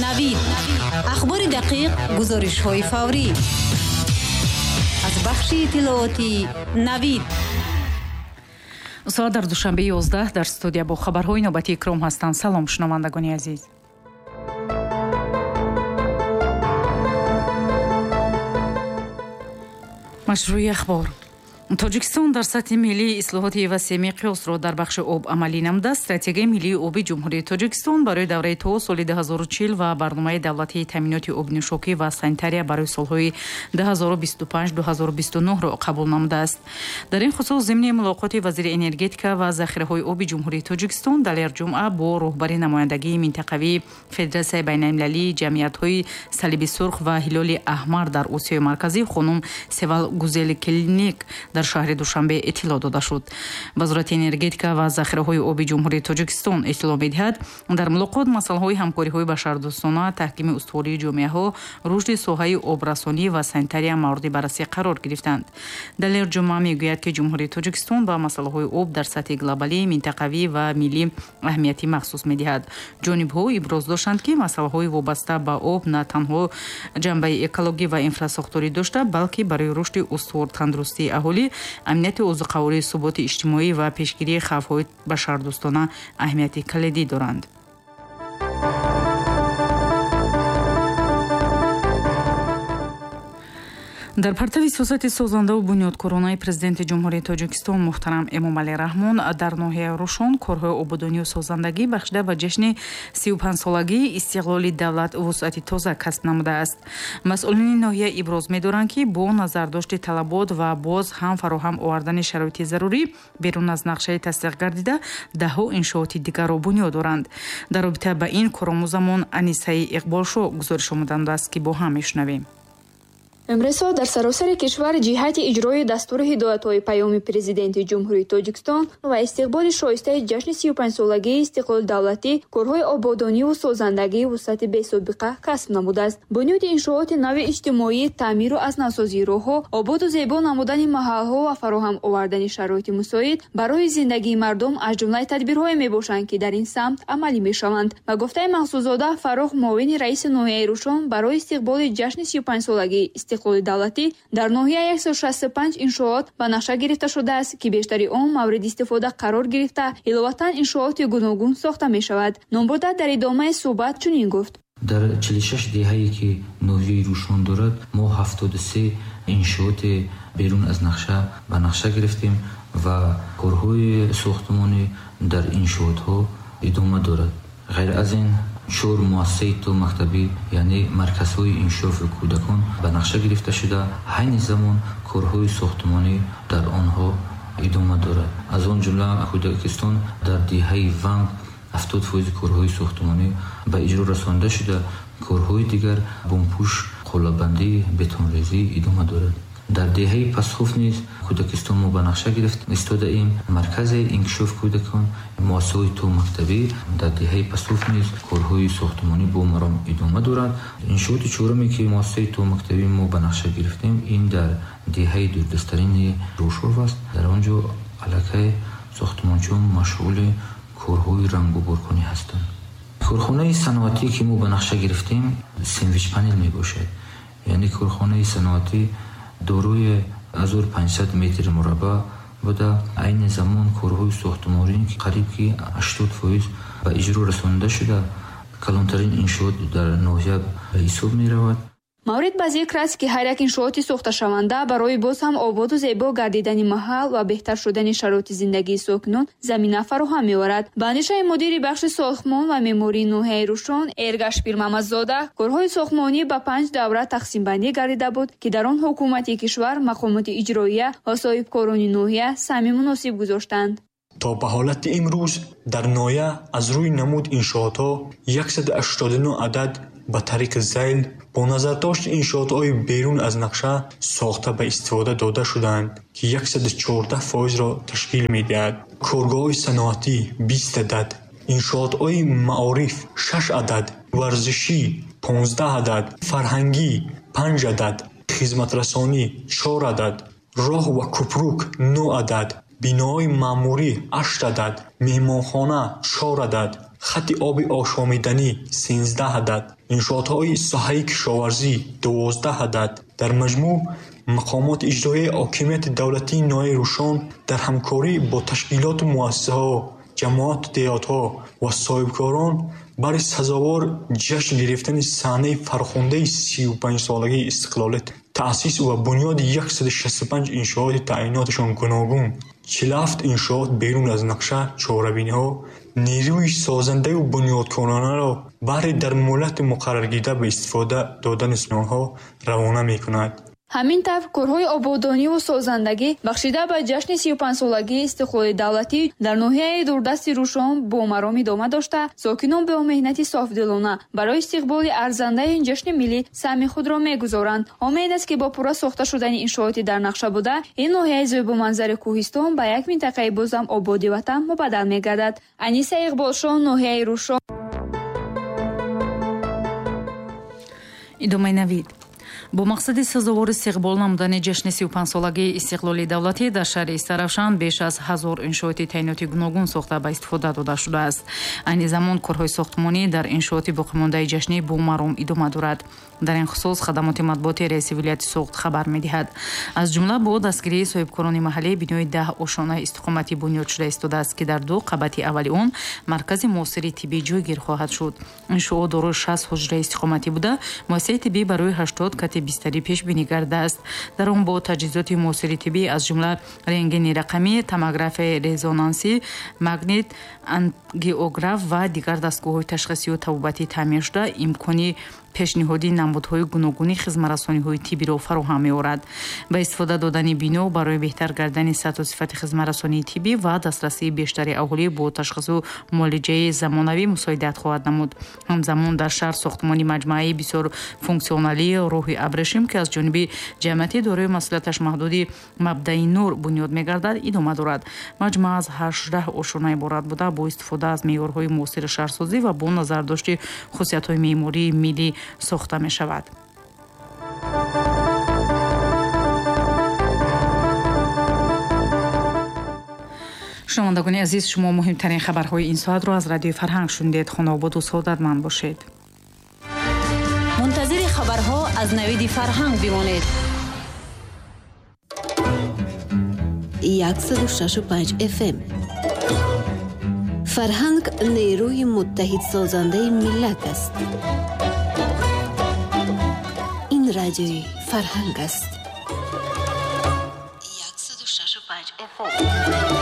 Навид. Ахбори дақиқ, гузоришҳои фаврӣ. Аз бахши иттилоотии Навид. Соат дар Душанбе 11, дар студия бо хабарҳои навбати Икром ҳастанд. Салом, шунавандагони азиз. Машрӯи ахбор. Тоҷикистон дар сатҳи миллӣ ислоҳоти васеъ миқёсро дар бахши об амалӣ намуда, стратегияи миллии оби Ҷумҳурии Тоҷикистон барои давраи то соли 2040 ва барномаи давлатии таъминоти обнӯшокӣ ва санитария барои солҳои 2025-2029-ро қабул намудааст. Дар ин хусус зимни мулоқоти вазири энергетика ва захираҳои оби Ҷумҳурии Тоҷикистон Далер Ҷумъа бо роҳбари намояндагии минтақавии Федератсияи байналмилалии ҷамъиятҳои Салиби Сурх ва Ҳилоли Аҳмар дар Осиёи Марказӣ хонум Севал Гузелкилник дар шаҳри Душанбе иттилоъ дода шуд. Вазорати энергетика ва захираҳои оби Ҷумҳурии Тоҷикистон иттилоъ медиҳад, дар мулоқот масъалаҳои ҳамкориҳои башардӯстона, таҳкими устувории ҷомеаҳо, рушди соҳаи обрасонӣ ва санитария мавриди баррасӣ қарор гирифтанд. Далер Ҷумъа мегӯяд, ки Ҷумҳурии Тоҷикистон ба масъалаҳои об дар сатҳи глобалӣ, минтақавӣ ва миллӣ аҳамияти махсус медиҳад. Ҷонибҳо иброз доштанд, ки масъалаҳои вобаста ба об на танҳо ҷанбаи экологӣ ва инфрасохторӣ дошта, балки барои рушди устувор тандурустии аҳолӣ, амнияти озуқаворӣ, суботи иҷтимоӣ ва пешгирии хавфҳои башардӯстона аҳамияти калидӣ доранд. Дар партави сиёсати созандаву бунёдкоронаи Президенти Ҷумҳурии Тоҷикистон муҳтарам Эмомалӣ Раҳмон дар ноҳияи Рӯшон корҳои ободонию созандагӣ бахшида ба ҷашни 35-солагии истиқлоли давлат вусъати тоза касб намудааст. Масъулини ноҳия иброз медоранд, ки бо назардошти талабот ва боз ҳам фароҳам овардани шароити зарурӣ берун аз нақшаи тасдиқ гардида даҳҳо иншооти дигарро бунёд доранд. Дар робита ба ин коромӯзамон Анисаи Иқболшо гузориш омодандааст, ки бо ҳам мешунавем. Имрӯзҳо дар саросари кишвар ҷиҳати иҷрои дастуру ҳидоятҳои Паёми Президенти Ҷумҳурии Тоҷикистон ва истиқболи шоистаи ҷашни 35-солагии истиқлоли давлатӣ корҳои ободониву созандагии вусъати бесобиқа касб намудааст. Бунёди иншооти нави иҷтимоӣ, таъмиру аз навсозии роҳҳо, ободу зебо намудани маҳалҳо ва фароҳам овардани шароити мусоид барои зиндагии мардум аз ҷумлаи тадбирҳое мебошанд, ки дар ин самт амалӣ мешаванд. Ба гуфтаи Мақсудзода Фаррух, муовини раиси ноҳияи Рӯшон, барои истиқболи ҷашни 35-солагии истиқлоли давлатӣ дар ноҳия 165 иншоот ба нақша гирифта шудааст, ки бештари он мавриди истифода қарор гирифта, иловатан иншооти гуногун сохта мешавад. Номбурда дар идомаи суҳбат чунин гуфт: Дар 46 деҳае, ки ноҳияи Рӯшон дорад, мо 73 иншооти берун аз нақша ба нақша гирифтем ва корҳои сохтмонӣ дар иншоотҳо идома дорад. Ғайр аз ин, чор муассисаи томактабӣ, яъне марказҳои инкишофи кӯдакон ба нақша гирифта шуда, ҳайни замон корҳои сохтмонӣ дар онҳо идома дорад. Аз он ҷумла кӯдакистон дар деҳаи Ванг 70% корҳои сохтмонӣ ба иҷро расонида шуда, корҳои дигар бомпӯш, қолабандӣ, бетонрезӣ идома дорад. Дар деҳаи Пасхуф низ кӯдакистон мо ба нақша гирифт истодаем. Маркази инкишофи кӯдакон, муассисаҳои томактабӣ дар деҳаи Пасхуф низ корҳои сохтмонӣ бо маром идома дорад. Иншооти чоруме, ки муассисаи томактабӣ мо ба нақша гирифтем, ин дар деҳаи дурдасттарини Рӯшов аст. Дар он ҷо аллакай сохтмончиён машғули корҳои рангуборкунӣ ҳастанд. Корхонаи саноатӣ, ки мо ба нақша гирифтем, сендвич панел мебошад. Яъне корхонаи саноатӣ дорои 1500 метр мураббаъ буда, айни замон корҳои сохтмонӣ қариб ки 80% ба иҷро расонида шуда, калонтарин иншоот дар ноҳия ба ҳисоб меравад. Маврид ба зикр аст, ки ҳар як иншооти сохташаванда барои боз ҳам ободу зебо гардидани маҳал ва беҳтар шудани шароити зиндагии сокинон замина фароҳам меорад. Ба андешаи мудири бахши сохтмон ва меъмории ноҳияи Рӯшон Эргаш Пирмамадзода, корҳои сохтмонӣ ба 5 давра тақсимбандӣ гардида буд, ки дар он ҳукумати кишвар, мақомоти иҷроия ва соҳибкорони ноҳия саҳми муносиб гузоштанд. То ба ҳолати имрӯз дар ноҳия аз рӯи намуд иншоотҳо 189 адад ба тариқи зайл бо назардошти иншоотҳои берун аз нақша сохта ба истифода дода шудаанд, ки 114%-ро ташкил медиҳад. Коргоҳҳои саноатӣ 20 адад, иншоотҳои маориф 6 адад, варзишӣ 15 адад, фарҳангӣ 5 адад, хизматрасонӣ 4 адад, роҳ ва кӯпрук 9 адад, биноҳои маъмурӣ 8 адад, меҳмонхона 4 адад, Хати оби ошомиданӣ 13 адад, иншоотҳои соҳаи кишоварзӣ 12 адад. Дар маҷмӯъ мақомоти иҷроияи ҳокимияти давлатии ноҳияи Рӯшон дар ҳамкорӣ бо ташкилоту муассисаҳо, ҷамоату деҳотҳо ва соҳибкорон барои сазовор ҷашн гирифтани саҳнаи фархундаи 35-солагии истиқлолият, таъсис ва бунёди 165 иншооти таъиноташон гуногун, 47 иншоот берун аз нақша, чорабиниҳо, нерӯи созандаю бунёдкоронаро баҳри дар муҳлати муқарраргида ба истифода додани онҳо равона мекунад. Ҳамин тавр, корҳои ободониву созандагӣ бахшида ба ҷашни 35-солагии истиқлоли давлатӣ дар ноҳияи дурдасти Рӯшон бо маром идома дошта, сокинон бо меҳнати софдилона барои истиқболи арзандаи ин ҷашни миллӣ саҳми худро мегузоранд. Умед аст, ки бо пурра сохта шудани иншооти дар нақша буда, ин ноҳияи зебоманзари кӯҳистон ба як минтақаи бозам ободи ватан мубаддал мегардад. Аниса Иқболшоҳ, ноҳияи Рӯшон. Идомаи навид. Бо мақсади сазовор истиқбол намудани ҷашни 35-солагии истиқлоли давлатӣ дар шаҳри Истаравшан беш аз 1000 иншооти таъиноти гуногун сохта ба истифода дода шудааст. Айни замон корҳои сохтмонӣ дар иншооти боқимондаи ҷашнӣ бо маром идома дорад. Дар ин хусус хадамоти матбуоти раиси вилояти Суғд хабар медиҳад. Аз ҷумла бо дастгирии соҳибкорони маҳаллӣ бинои 10 ошонаи истиқоматӣ бунёд шуда истодааст, ки дар ду қабати аввали он маркази муосири тиббӣ ҷойгир хоҳад шуд. Иншоот дорои 60 ҳуҷраи истиқоматӣ буда, муассисаи тиббӣ барои 80 кати бистарӣ пешбинӣ гардааст. Дар он бо таҷҳизоти муосири тиббӣ аз ҷумла рентгени рақамӣ, томографияи резонансӣ, магнит, ангиограф ва дигар дастгоҳҳои ташхисию табобатӣ таъмин шуда, имкони пешниҳоди намудҳои гуногуни хизматрасониҳои тиббиро фароҳам меорад. Ба истифода додани бино барои беҳтар гардани сатҳу сифати хизматрасонии тиббӣ ва дастрасии бештари аҳолӣ бо ташхису муолиҷаи замонавӣ мусоидат хоҳад намуд. Ҳамзамон дар шаҳр сохтмони маҷмӯаи бисёр функсионалии роҳи абрешим, ки аз ҷониби ҷамъияти дорои масъулияташ маҳдуди Мабдаи нур бунёд мегардад, идома дорад. Маҷмӯа аз 18 ошона иборат буда, бо истифода аз меъёрҳои муосири шаҳрсозӣ ва бо назардошти хусусиятҳои меъмории миллӣ сохта мешавад. Шунавандагони азиз, шумо муҳимтарин хабарҳои ин соатро аз радиои Фарҳанг шунидед. Хонаободу саодатманд бошед. Мунтазири хабарҳо аз навиди Фарҳанг бимонед. 106.5 FM. Фарҳанг нерӯи муттаҳидсозандаи миллат аст. Ин радиои Фарҳанг аст.